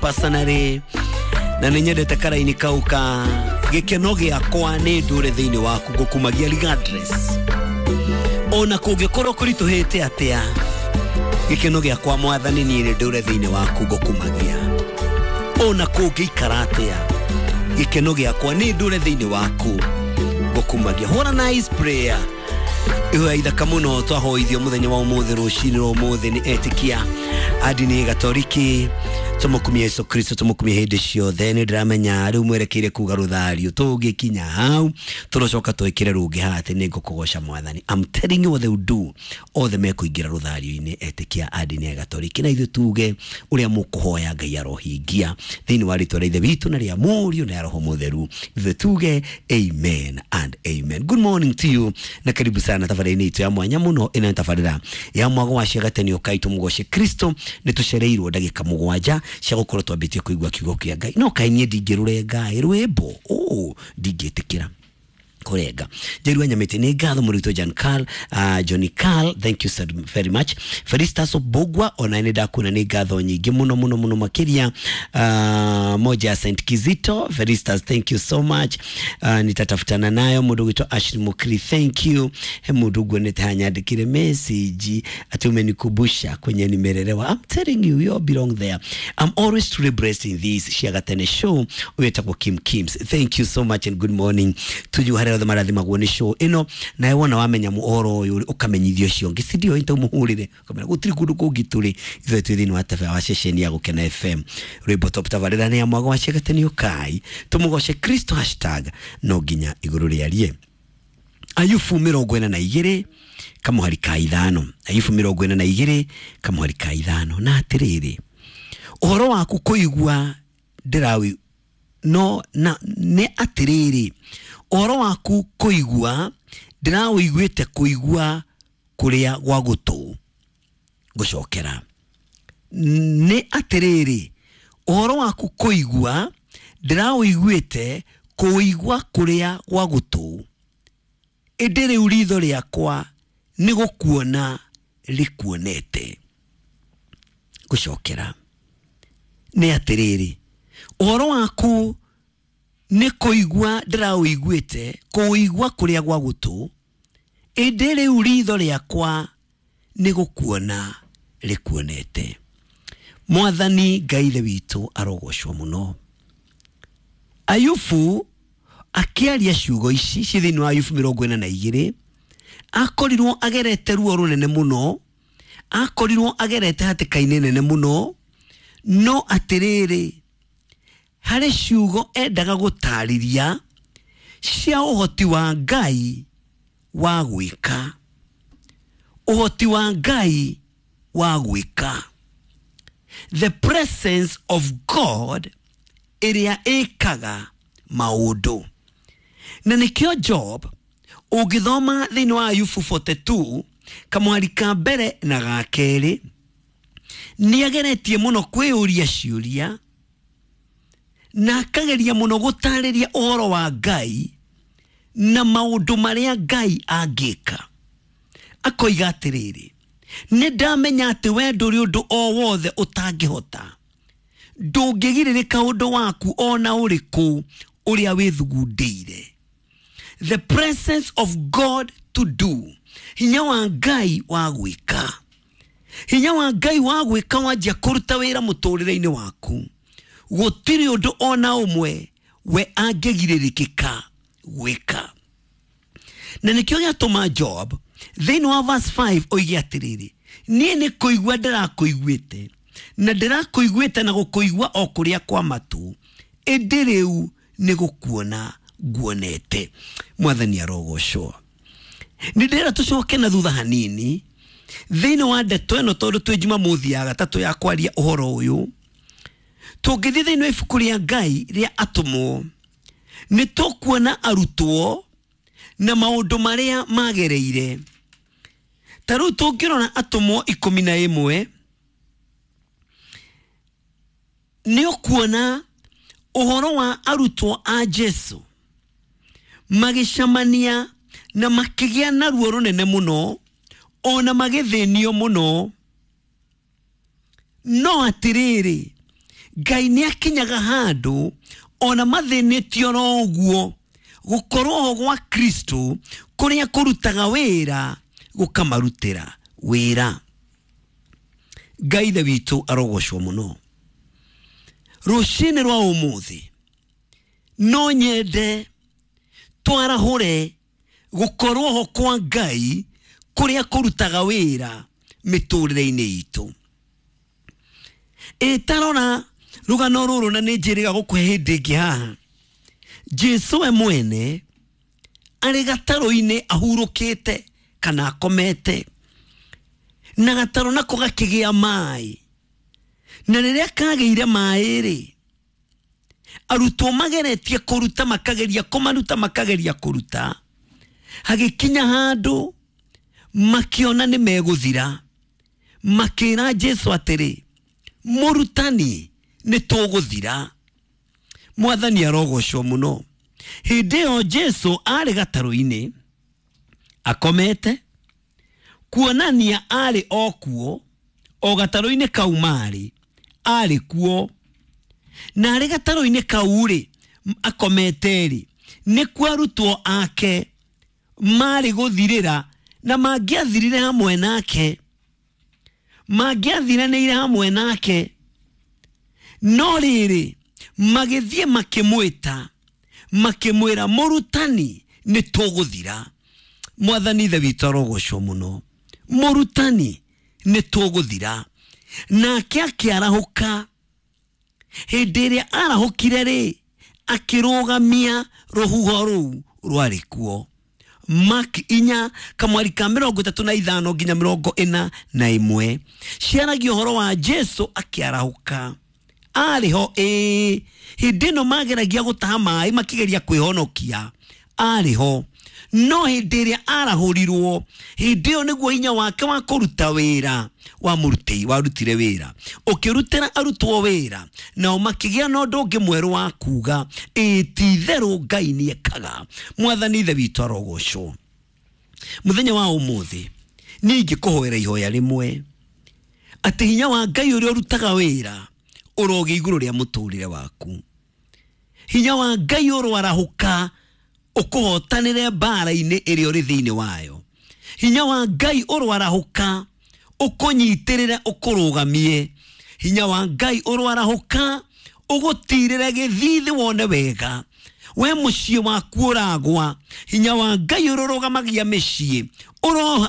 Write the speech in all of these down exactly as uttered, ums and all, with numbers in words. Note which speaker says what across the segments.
Speaker 1: Personally na nĩ nyendete karaini kau ka gĩkeno gĩakwa nĩ ndũre thĩinĩ waku ngũkumagia regardless ona kũngĩkorwo kũritũhĩte atĩa gĩkeno gĩakwa mwathani niĩ nĩ ndũre thĩinĩ waku ngũkumagia ona kũngĩikara atĩa gĩkeno gĩakwa nĩ ndũre thĩinĩ waku ngũkumagia. What a nice prayer. Ihoya ithaka mũno twahoithio mũthenya wa ũmũthĩ rũcinĩ rwa ũmũthĩ nĩ etĩkia a ndini gatoriki. Tũmũkumie Yesu Kristo, tũmũkumie hĩndĩ ciothe. Nĩ ndĩramenya rĩu mwerekeire kuga rũthario, tũngĩkinya hau tũrocoka twĩkĩre rũngĩ haha atĩ nĩ ngũkũgoca mwathani. I'm telling you what they will do, othe mekũingĩra rũthario-inĩ etĩkia a ndini ya gatoriki, na ithuĩ tuge ũrĩa mũkũhoya Ngai arohingia thĩinĩ wa rĩtwa rĩa Ithe witũ na rĩa Mũriũ na rĩa Roho Mũtheru. Ithuĩ tuge amen and amen. Good morning to you na karibu sana tabarĩra-inĩ itũ ya mwanya mũno. Ĩno nĩ tabarĩra ya mwago wa ciagateni ũkai tũmũgoce Kristo. Nĩ tũcereirwo ndagĩka mũgwanja cia gũkorwo twambĩtie kũigua kiugo kĩa Ngai. No kaĩ niĩ ndingĩrũrenga rwĩmbo ũ ndingĩtĩkĩra kũrenga. Njerua Nyamĩtĩ nĩ ngatho mũrutwo John Carl, uh, Johnny Carl, thank you so very much. Felistas Obogwa ona nĩ ndakuona, nĩ ngatho nyingĩ mũno mũno mũno makĩria. uh, moja ya Saint Kizito, Felistas, thank you so much. uh, nitatafutana nayo. Mũndũ gwĩtwo Ashley Mukri, thank you. He mũndũ nguonete hanyandĩkire message ati umenikumbusha kwenye nimelelewa. I'm telling you, we all belong there. I'm always truly blessed in this Ciagatene show. Wetagwo Kim Kims, thank you so much and good morning to you. Harĩa othe marathimagwo nĩ show ĩno, nawe wona wamenya ũhoro ũyũ ũkamenyithio ũcio ũngĩ, si ndio? Ita ũmũhũrĩre ũkamera gũtirĩ kũndũ kũngĩ tũrĩ, ithuĩ twĩ thĩinĩ wa tabarĩra wa ceceni ya Gũkena F M. Rwĩmbo top, tabarĩra nĩ ya mwago wa Ciagatene ũkai tũmũgoce Kristo, hashtag no nginya igũrũ rĩarie. Ayubu mĩrongo ĩna na igĩrĩ kamũhari ka ithano. Ayubu mĩrongo ĩna na igĩrĩ kamũhari ka ithano. Na atĩrĩrĩ, ũhoro waku kũigua ndĩrawi no na nĩ atĩrĩrĩ, ũhoro waku kũigua ndĩrawĩiguĩte kũigua kũrĩa gwa gũtũ. Gũcokera, nĩ atĩrĩrĩ, ũhoro waku kũigua ndĩrawĩiguĩte kũigua kũrĩa gwa gũtũ, ĩndĩ rĩu ritho rĩakwa nĩ gũkuona rĩkuonete. Gũcokera, nĩ atĩrĩrĩ, ũhoro waku nĩ kũigua ndĩrawĩiguĩte kũigua kũrĩa gwa gũtũ, ĩndĩ rĩu ritho rĩakwa nĩ gũkuona rĩkuonete. Mwathani Ngai Ithe witũ arogocwo mũno. Ayubu akĩaria ciugo ici ci thĩinĩ wa Ayubu mĩrongo ĩna na igĩrĩ, akorirwo agerete ruo rũnene mũno, akorirwo agerete hatĩka-inĩ nene mũno, no atĩrĩrĩ, harĩ ciugo endaga gũtarĩria cia ũhoti wa Ngai wa gwĩka, ũhoti wa Ngai wa gwĩka, the presence of God ĩrĩa ĩkaga maũndũ. Na nĩkĩo Job, ũngĩthoma thĩinĩ wa Ayubu mĩrongo ĩna na igĩrĩ kamwari ka mbere na ga kerĩ, nĩ ageretie mũno kwĩyũria ciũria na akageria mũno gũtarĩria ũhoro wa Ngai na maũndũ marĩa Ngai angĩka. Akoiga atĩrĩrĩ, nĩ ndamenya atĩ we ndũrĩ ũndũ o wothe ũtangĩhota, ndũngĩgirĩrĩka ũndũ waku ona ũrĩkũ ũrĩa wĩthugundĩire. The presence of God to do, hinya wa Ngai wa gwĩka, hinya wa Ngai wa gwĩka wanjia kũruta wĩra mũtũrĩre-inĩ waku, gũtirĩ ũndũ ona ũmwe we angĩgirĩrĩkĩka gwĩka. Na nĩkĩo gĩatũma Job thĩinĩ wa verse five oige atĩrĩrĩ, niĩ nĩ kũigua ndĩrakũiguĩte na ndĩrakũiguĩte na gũkũigua o kũrĩa kwa matũ, ĩndĩ rĩu nĩ gũkuona nguonete. Mwathani arogocwo. Nĩ ndĩrera tũcoke na thutha hanini thĩinĩ wa ndeto ĩno, tondũ twĩ Jumamothi ya gatatũ ya kwaria ũhoro ũyũ. Tũngĩthiĩ thĩinĩ wa ibuku rĩa Ngai rĩa Atũmwo, nĩ tũkuona arutwo na maũndũ marĩa magereire. Ta rĩu tũngĩrora Atũmwo ikũmi na ĩmwe, nĩ ũkuona ũhoro wa arutwo a Jesu magĩcemania na makĩgĩa na ruo rũnene mũno, ona magĩthĩnio mũno, no atĩrĩrĩ, Ngai nĩ akinyaga handũ ona mathĩnĩtio oro ũguo, gũkorwo ho gwa Kristo kũrĩa kũrutaga wĩra gũkamarutĩra wĩra. Ngai Ithe witũ arogocwo mũno. Rũcinĩ rwa ũmũthĩ no nyende twarahũre gũkorwo ho kwa Ngai kũrĩa kũrutaga wĩra mĩtũrĩre-inĩ itũ. Ĩtarora rũgano rũrũ na nĩ njĩrĩga gũkũhe hĩndĩ ĩngĩ haha. Jesu we mwene arĩ gatarũ-inĩ ahurũkĩte kana akomete, na gatarũ nako gakĩgĩa maĩ, na rĩrĩa kagĩire maĩ rĩ, arutwo mageretie kũruta, makageria kũmaruta, makageria kũruta, hagĩkinya handũ makiona nĩ megũthira, makĩra Jesu atĩrĩ, mũrutani nĩ tũgũthira. Mwathani arogocwo mũno. Hĩndĩ ĩyo Jesu arĩ gatarũ-inĩ akomete, kuonania arĩ o kuo, o gatarũ-inĩ kau marĩ, arĩ kuo. Na arĩ gatarũ-inĩ kau rĩ, akomete rĩ, nĩkuo arutwo ake marĩ gũthirĩra, na mangĩathirire hamwe nake, mangĩathiranĩire hamwe nake. No rĩrĩ, magĩthiĩ makĩmwĩta, makĩmwĩra, mũrutani nĩ tũgũthira. Mwathani Ithe witũ arogocwo mũno. Mũrutani nĩ tũgũthira. Nake akĩarahũka. Hĩndĩ ĩrĩa arahũkire rĩ, akĩrũgamia rũhuho rũu rwarĩ kuo. Mark inya kamwari ka mĩrongo ĩtatũ na ithano nginya mĩrongo ĩna na ĩmwe ciaragia ũhoro wa Jesu akĩarahũka. Arĩ ho ĩĩ, hĩndĩ ĩno mageragia gũtaha maĩ makĩgeria kwĩhonokia, arĩ ho. No hĩndĩ ĩrĩa arahũrirwo, hĩndĩ ĩyo nĩguo hinya wake wa kũruta wĩra wamũrutĩi, warutire wĩra, ũkĩrutĩra arutwo wĩra, nao makĩgĩa na ũndũ ũngĩ mwerũ wa kuga, ĩĩ ti itherũ Ngai nĩekaga. Mwathani Ithe witũ arogocwo. Mũthenya wa ũmũthĩ niĩ ingĩkũhoera ihoya rĩmwe, atĩ hinya wa Ngai ũrĩa ũrutaga wĩra ũrogĩa igũrũ rĩa mũtũrĩre waku. Hinya wa Ngai ũroarahũka ũkũhotanĩre mbara-inĩ ĩrĩa ũrĩ thĩinĩ wayo. Hinya wa Ngai ũroarahũka ũkũnyitĩrĩre ũkũrũgamie. Hinya wa Ngai ũroarahũka ũgũtirĩre gĩthithi wone wega. We mũciĩ waku ũragwa, hinya wa Ngai ũrũrũgamagia mĩciĩ,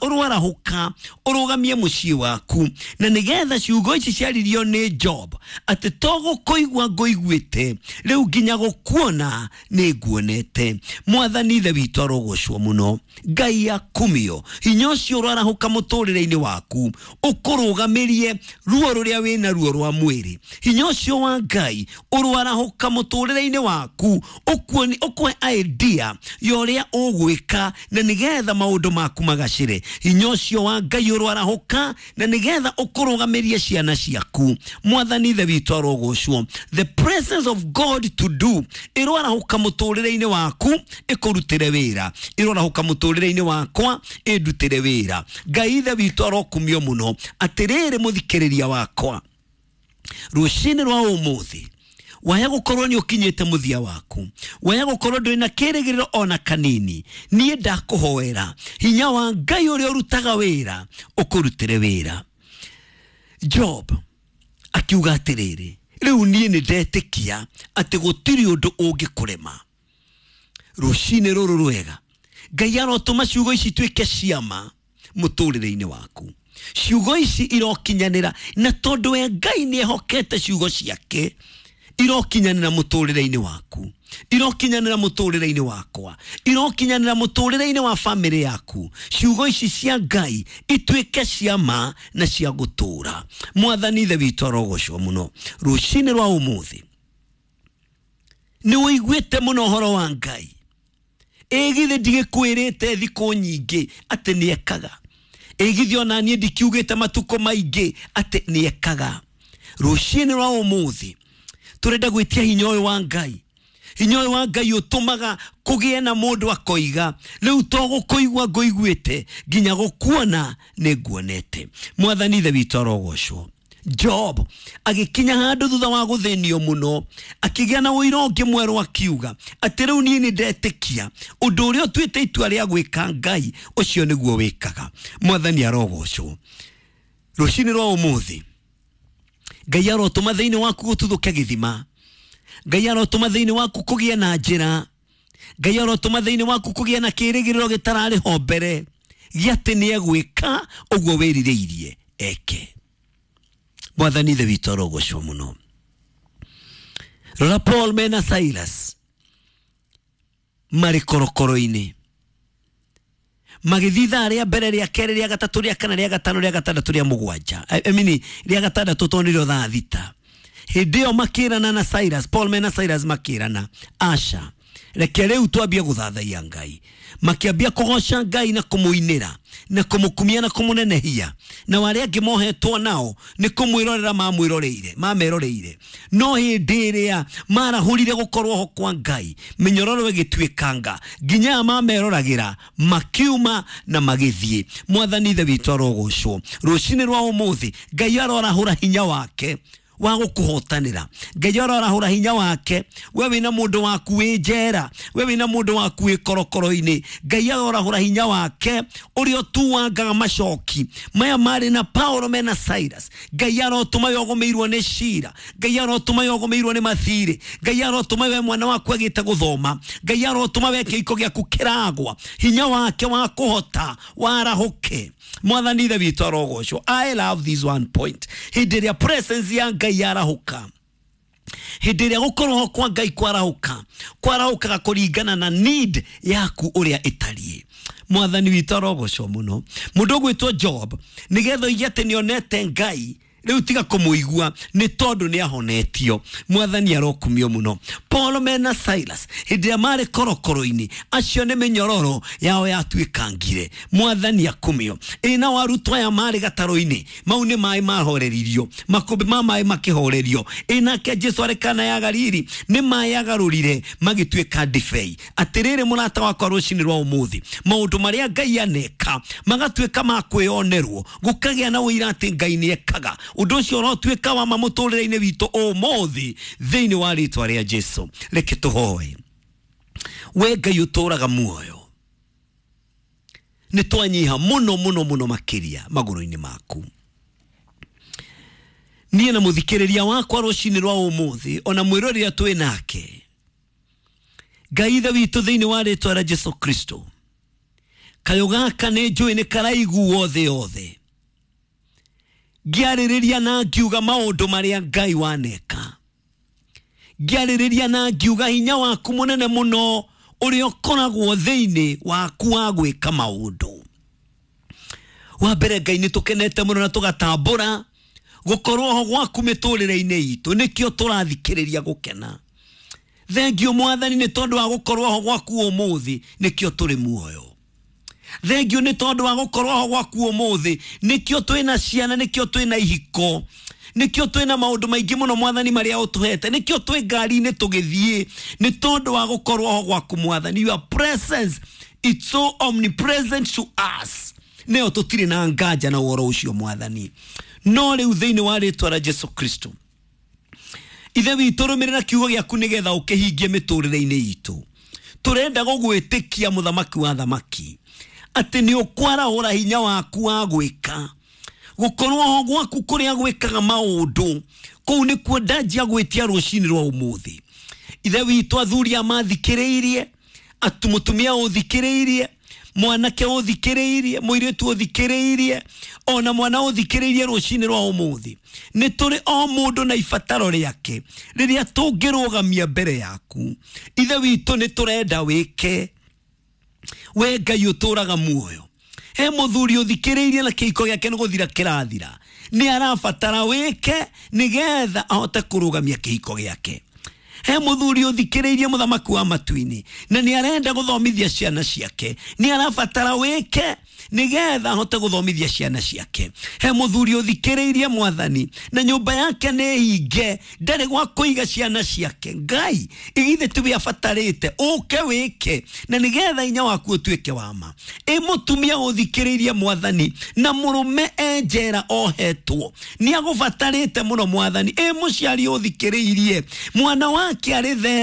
Speaker 1: ũroarahũka ũrũgamie mũciĩ waku. Na nĩgetha ciugo ici ciaririo nĩ Job, atĩ to gũkũigua ngũiguĩte, rĩu nginya gũkuona nĩ nguonete. Mwathani Ithe witũ arogocwo mũno. Ngai akumio. Hinya ũcio ũroarahũka mũtũrĩre-inĩ waku, ũkũrũgamĩrie ruo rũrĩa wĩna ruo rwa mwĩrĩ. Hinya ũcio wa Ngai ũroarahũka mũtũrĩre-inĩ waku, ũkuoni ũkũhe idea ya ũrĩa ũgwĩka na nĩgetha maũndũ maku magacĩre. Hinya ũcio wa Ngai ũroarahũka na nĩgetha ũkũrũgamĩrie ciana ciaku. Mwathani Ithe witũ arogocwo. The presence of God to do ĩroarahũka mũtũrĩre-inĩ waku, ĩkũrutĩre wĩra. Ĩroarahũka mũtũrĩre-inĩ wakwa, ĩndutĩre wĩra. Ngai Ithe witũ arokumio mũno. Atĩrĩrĩ mũthikĩrĩria wakwa, rũcinĩ rwa ũmũthĩ waya gũkorwo nĩ ũkinyĩte mũthia waku, waya gũkorwo ndũrĩ na kĩrĩgĩrĩro ona kanini, niĩ ndakũhoera hinya wa Ngai ũrĩa ũrutaga wĩra ũkũrutĩre wĩra. Job akiuga atĩrĩrĩ, rĩu niĩ nĩ ndetĩkia atĩ gũtirĩ ũndũ ũngĩkũrema. Rũcinĩ rũrũ rwega, Ngai arotũma ciugo ici ituĩke ciama mũtũrĩre-inĩ waku. Ciugo ici irokinyanĩra, na tondũ we Ngai nĩ ehokete ciugo ciake, irokinyanĩra mũtũrĩre-inĩ waku, irokinyanĩra mũtũrĩre-inĩ wakwa, irokinyanĩra mũtũrĩre-inĩ wa famĩlĩ yaku. Ciugo ici cia Ngai ituĩke ciama na cia gũtũũra. Mwathani Ithe witũ arogocwo mũno. Rũcinĩ rwa ũmũthĩ nĩ ũiguĩte mũno ũhoro wa Ngai. Ĩ githĩ ndigĩkwĩrĩte thikũ nyingĩ atĩ nĩekaga? Ĩ githĩ ona niĩ ndikiugĩte matukũ maingĩ atĩ nĩekaga? Rũcinĩ rwa ũmũthĩ tũrenda gwĩtia hinya ũyũ wa Ngai. Hinya ũyũ wa Ngai ũtũmaga kũgĩe na mũndũ akoiga, rĩu to gũkũigua ngũiguĩte, nginya gũkuona nĩ nguonete. Mwathani Ithe witũ arogocwo. Job agĩkinya handũ thutha wa gũthĩnio mũno, akĩgĩa na ũira ũngĩ mwerũ, akiuga atĩ rĩu niĩ nĩ ndetĩkia ũndũ ũrĩa ũtuĩte itua rĩa gwĩka, Ngai ũcio nĩguo wĩkaga. Mwathani arogocwo. Rũcinĩ rwa ũmũthĩ Ngai arotũma thĩinĩ waku gũtuthũke gĩthima. Ngai arotũma thĩinĩ waku kũgĩe na njĩra. Ngai arotũma thĩinĩ waku kũgĩe na kĩĩrĩgĩrĩro gĩtararĩ ho mbere gĩa atĩ nĩ egwĩka ũguo wĩrirĩirie eke. Mwathani Ithe witũ arogocwo mũno. Rora Paul mena Silas marĩ korokoro-inĩ, magĩthiĩ ithaa rĩa mbere, rĩa kerĩ, rĩa gatatũ, rĩa kana, rĩa gatano, rĩa gatandatũ, rĩa mũgwanja, I mean, rĩa gatandatũ, tondũ nĩrĩo thaa thita. Hĩndĩ ĩyo makĩrana na Silas, Paul mena Silas makĩrana, aca, reke rĩu twambie gũthathaiya Ngai. Makĩambia kũgoca Ngai na kũmũinĩra na kũmũkumia na kũmũnenehia, na arĩa angĩ mohetwo nao nĩ kũmwĩrorera mamwĩroreire mameroreire. No hĩndĩ ĩrĩa marahũrire gũkorwo ho kwa Ngai, mĩnyororo ĩgĩtuĩkanga nginya aya mameroragĩra makiuma na magĩthiĩ. Mwathani Ithe witũ arogocwo. Rũcinĩ rwa ũmũthĩ Ngai arorahũra hinya wake wa gũkũhotanĩra. Ngai arorahũra hinya wake. We wĩna mũndũ waku wĩ njera, we wĩna mũndũ waku wĩ korokoro-inĩ, Ngai arorahũra hinya wake ũrĩa ũtuangaga macoki maya marĩ na Paulo mena Silas. Ngai arotũma we ũgũmĩirwo nĩ cira, Ngai arotũma we ũgũmĩirwo nĩ mathirĩ, Ngai arotũma we mwana waku agĩte gũthoma, Ngai arotũma we kĩhiko gĩaku kĩragwa, hinya wake wa kũhota warahũke. Mwathani Ithe witũ arogocwo. I love this one point. Hĩndĩ ĩrĩa presence ya Ngai yarahũka, hĩndĩ ĩrĩa gũkorwo kwa Ngai kwarahũka, kwarahũkaga kũringana na need yaku ũrĩa ĩtariĩ. Mwathani witũ arogocwo mũno. Mũndũ ũgwĩtwo Job, nĩgetha oige atĩ nĩonete Ngai, rĩu tiga kũmũigua nĩ tondũ nĩ ahonetio. Mwathani arokumio mũno. Paul mena Silas hĩndĩ ĩrĩa marĩ korokoro-inĩ, acio nĩ mĩnyororo yao yatuĩkangire. Mwathani akumio. Ĩ nao arutwo aya marĩ gatarũ-inĩ, mau nĩ maĩ mahoreririo, makũmbĩ ma maĩ makĩhorerio. Ĩ nake Jesu arĩ Kana ya Galili, nĩ maĩ agarũrire magĩtuĩka ndibei. Atĩrĩrĩ mũrata wakwa, rũcinĩ rwa ũmũthĩ maũndũ marĩa Ngai aneka magatuĩka ma kwĩyonerwo, gũkagĩa na ũira atĩ Ngai nĩ ekaga. Ũndũ ũcio ũrotuĩka wa ma mũtũrĩre-inĩ witũ ũmũthĩ thĩinĩ wa rĩtwa rĩa Jesu. Reke tũhoe. We Ngai ũtũraga muoyo, nĩ twanyiha mũno mũno mũno makĩria magũrũ-inĩ maku. Niĩ na mũthikĩrĩria wakwa rũcinĩ rwa ũmũthĩ, ona mwĩrorera twĩ nake, Ngai Ithe witũ thĩinĩ wa rĩtwa rĩa Jesu Kristo, kayũ gaka nĩ njũĩ nĩ karaiguo thĩ yothe, ngĩarĩrĩria na ngiuga maũndũ marĩa Ngai waneka, ngĩarĩrĩria na ngiuga hinya waku mũnene mũno ũrĩa ũkoragwo thĩinĩ waku wa gwĩka maũndũ. Wa mbere Ngai nĩ tũkenete mũno na tũgatambũra gũkorwo ho gwaku mĩtũrĩre-inĩ itũ, nĩkĩo tũrathikĩrĩria gũkena. Thengio Mwathani nĩ tondũ wa gũkorwo ho gwaku ũmũthĩ, nĩkĩo tũrĩ muoyo. Thengio nĩ tondũ wa gũkorwo ho gwaku ũmũthĩ, nĩkĩo twĩna ciana, nĩkĩo twĩna ihiko, nĩkĩo twĩna maũndũ maingĩ mũno Mwathani marĩa ũtũhete, nĩkĩo twĩ ngari-inĩ tũgĩthiĩ, nĩ tondũ wa gũkorwo ho gwaku Mwathani. Your presence, it's so omnipresent to us. Nĩyo tũtirĩ na nganja na ũhoro ũcio Mwathani. No rĩu thĩinĩ wa rĩtwa rĩa Jesu Kristo, Ithe witũ, rũmĩrĩra kiugo gĩaku nĩgetha ũkĩhingie mĩtũrĩre-inĩ itũ. Tũrenda gũgwĩtĩkia mũthamaki wa thamaki atĩ nĩ ũkwarahũra hinya waku wa gwĩka, gũkorwo ho gwaku kũrĩa gwĩkaga maũndũ kũu nĩkuo ndanjia gwĩtia rũcinĩ rwa ũmũthĩ. Ithe witũ, athuri a mathikĩrĩirie, atu mũtumia ũthikĩrĩirie, mwanake ũthikĩrĩirie, mũirĩtu ũthikĩrĩirie, ona mwana ũthikĩrĩirie rũcinĩ rwa ũmũthĩ, nĩ tũrĩ o mũndũ na ibataro rĩake rĩrĩa tũngĩrũgamia mbere yaku. Ithe witũ, nĩ tũrenda wĩke. We Ngai ũtũraga muoyo, he mũthuri ũthikĩrĩirie na kĩhiko gĩake nĩ gũthira kĩrathira, nĩ arabatara wĩke nĩgetha ahote kũrũgamia kĩhiko gĩake. He muthuri uthikiriirie, muthamaki wa matu-inĩ, na nĩ arenda gũthomithia ciana ciake, nĩ arabatara wĩke nigetha ahote gũthomithia ciana ciake. He muthuri uthikiriirie, Mwathani, na nyũmba yake nĩ hinge, ndarĩ gwa kũiga ciana ciake. Ngai, igithe tuwe abatarĩte ũke wĩke na nigetha inya waku ũtuĩke wa ma. Ĩ mũtumia ũthikĩrĩirie, Mwathani, na mũrũme e njera ohetwo, nĩ agũbatarĩte mũno, Mwathani. Ĩ mũciari ũthikĩrĩirie, mwana wake arĩ thero.